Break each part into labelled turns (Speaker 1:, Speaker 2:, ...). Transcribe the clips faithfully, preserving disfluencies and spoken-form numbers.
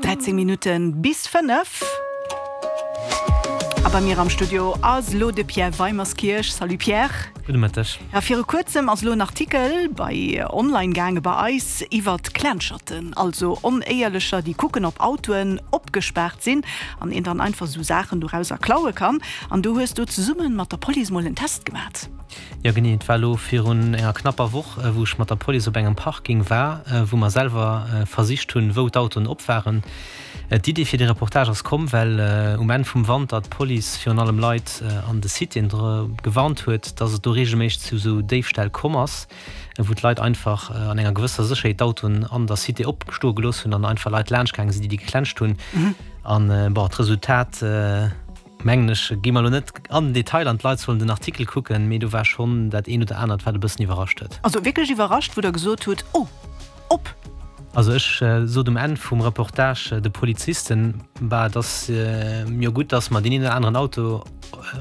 Speaker 1: Dräizéng Minutte bis fënnef. A bei mir am Studio ass lo de Pierre Weimerskirch. Salut Pierre.
Speaker 2: Gudde Mëtteg.
Speaker 1: Ja, viru kuerzem ass lo en Artikel bei online gaange bei eis iwwert Klenscherten, also Onéierlecher, déi kucken ob Autoen opgespaart sinn an een dann einfach sou Saachen dorauser klaue kann. An do hues du zesumme mat der Police mol en Test gemat.
Speaker 2: Jo genee, et war elo virun enger knapper Woch, wou ech mat der Police op engem Parking war, wou mer selwer versicht hunn, wou d'Autoen op waren. D'Idee fir dee Reportage ass komm, well um Enn vum Wanter d'Police virun allem Leit an de Citéen dru gewarnt huet, dass et do reegelméisseg zu esou Déifställ komm ass, wou d'Leit einfach an enger gewësser Sécherheet d'Autoen an der Cité opstoe gelooss hunn an einfach Leit laanscht gaange sinn, déi déi geklenscht hunn. An bon, d'Resultat, mengen ech, gi mer elo net an den Detail an, d'Leit sollen den Artikel kucken, mee do war schonn dat eent oder anert, wat e bëssen iwwerrascht huet.
Speaker 1: Also wierklech iwwerrascht, wou Der gesot hutt, Oh, op!
Speaker 2: Also ech sot um Enn vum Reportage de Polizisten, Bah, et ass jo gutt, datt mer deen een oder aneren Auto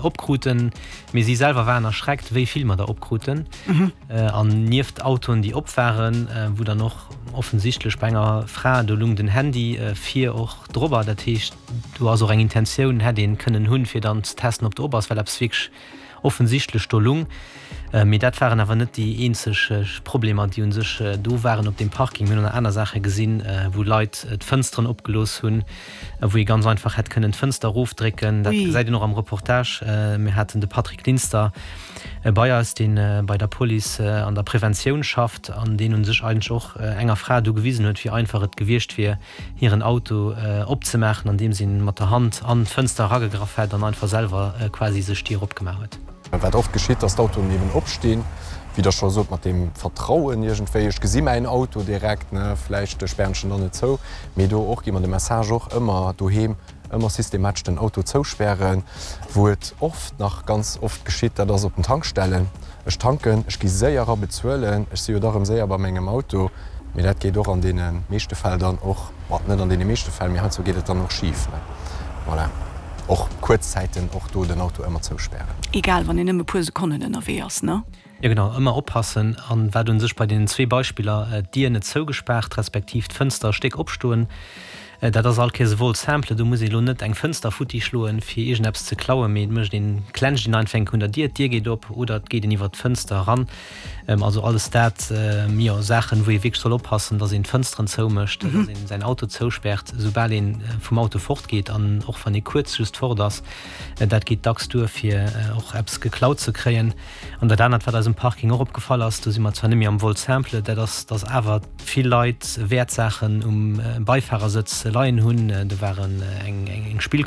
Speaker 2: opkruten, mee si selwer waren erschreckt, wéi vill mer der opkruten. An nieft Autoen, déi op waren, wou dann och offensichtlech bei enger Fra, do lung den Handy vir och drobber, dat heescht, do ass och eng Intentioun, hätt ee kënnen hunn, fir dann ze testen, ob do op ass, well eppes wierklech offensichtlech do lung. Mee dat waren awer net déi eenzeg Problemer, déi u sech do waren op deem Parking. Mir hunn och nach aner Saache gesinn, wou Leit d'Fënsteren opgelooss hunn, wou ee ganz einfach hätt kënnen d'Fënster erofdrécken. Dat gesäit een och am Reportage. Mir haten de Patrick Linster bei eis, dee bei der Police an der Preventioun schafft an deen u sech eigentlech och enger Fra do gewisen huet, wéi einfach et gewiescht wier, hiren Auto opzemaachen, andeems een mat der Hand an d'Fënster eragegraff hätt an einfach selwer quasi sech d'Dier opgemaach huet.
Speaker 3: Wat oft geschitt, dass d'Autoen eben opstinn, wéi Der scho sot, mat deem Vertrauen iergendwéi, ech gesi mäin Auto direkt, ne, vläicht spären ech en dann net zou. Mee do och gi mer de Message och ëmmer doheem, ëmmer systematesch den Auto zouspären. Wou et oft nach ganz oft geschitt, dat ass op den Tankstellen. Ech tanken, ech gi séier era bezuelen, ech si jo da rëm séier bei mengem Auto. Mee dat geet och an deene meeschte Fäll dann och, bon, net an deene meeschte Fäll, mee heiansdo geet et dann och schif, ne. Voilà. Och kuerz Zäiten, och do den Auto ëmmer zouspären.
Speaker 1: Egal, wann een nëmme puer Sekonnen ënnerwee ass, ne?
Speaker 2: Jo genau, ëmmer oppassen. An wat un sech bei deenen zwee Beispiller, d'Dier net zougespaart, respektiv d'Fënster e Stéck opstoen, dat ass all Kéiers e Vol simple. Do muss ee lo net eng Fënster futti schloen, fir iergendeppes ze klauen, mee et mécht een, klenscht een einfach enk un der Dier, d'Dier geet op oder et geet een iwwert d'Fënster eran. Also alles dat, jo, Saachen, wou ee wierklech soll oppassen, dass een d'Fënsteren zoumécht, dass een säin Auto zouspäert, soubal ee vum Auto fortgeet an och wann ee kuerz just fort ass. Dat geet dacks duer, fir och eppes geklaut ze kréien. An dat anert, wat eis um Parking och opgefall ass, do si mer zwar net méi am Vol simple, dat ass, dass awer vill Leit Wäertsaachen um Beifarersëtz leien hunn. Do waren eng Spillkonsol.